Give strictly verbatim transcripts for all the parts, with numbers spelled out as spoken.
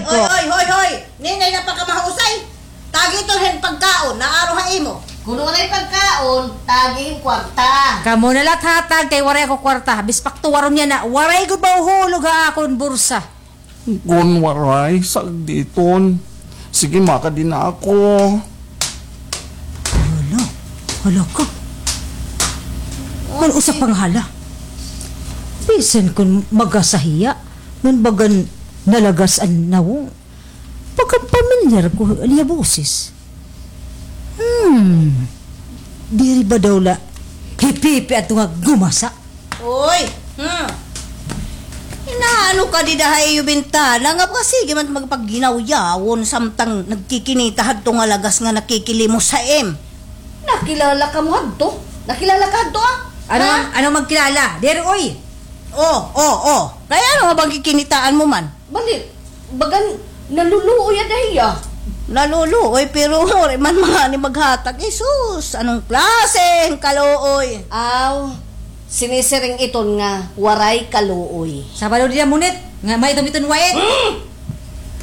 Oy, oy, hoy, hoy! Ninay, napakamahausay! Tagi ito hin pagkaon, naaro ha imo. Kun waray pagkaon, tagi hin kwarta. Kamo na la hatag kay waray ako kwarta. Bispak tuwaron niya na, waray gud mahuhulog ha akon bursa. Kun waray, sagditon. Sige, makadi na ako. Hala, hala ka. Kun usa pa nga hala. Bisan kun magasahiya, ngan bagan nalagas an nawong. Pagkapamilyar ko an iya boses. Hmm. Diri ba daw la hipipi adto nga gumasa? Oy! Hmm. Inaano ka dida ha iyo bintana nga baga sige man magpagginawyaw samtang nagkikinita hadto nga lagas nga nakikilimos ha im. Nakilala kamo hadto? Nakilala ka hadto, ah? Ano, ha? Ano magkilala? Diri, oy! Oh, oh, oh. Kay ano nga ba an kikinitaan mo man? Bali, bagan naluluoy ada hiya. Naluluoy, pero waray man mga ni maghatag. Jesus, anong klase ang kaluoy? Aw, sinisiring iton nga waray kaluoy. Sabado dida munit, nga may dumiton wait.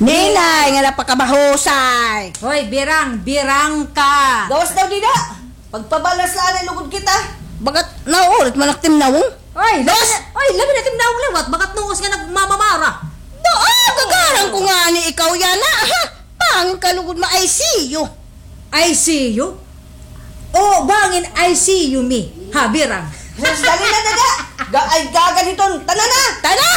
Ninay, nga napakamahusay. Hoy, birang, birang ka. Gawas daw dida. Pagpabalas la anay lugod kita. Bagat nauulit man ak timnawong. Oy, labi na, oy, labi na timnawong liwat, bagat nuos nga nagmamamara. Doon, gagaran ko nga ni ikaw yana, ha? Bangin ka lugod ma-I C U. I C U? Oo, bangin I C U mi. Ha, birang. Sus, dali na, dada. Ga-, ay, gagan hiton. Tana na! Tana!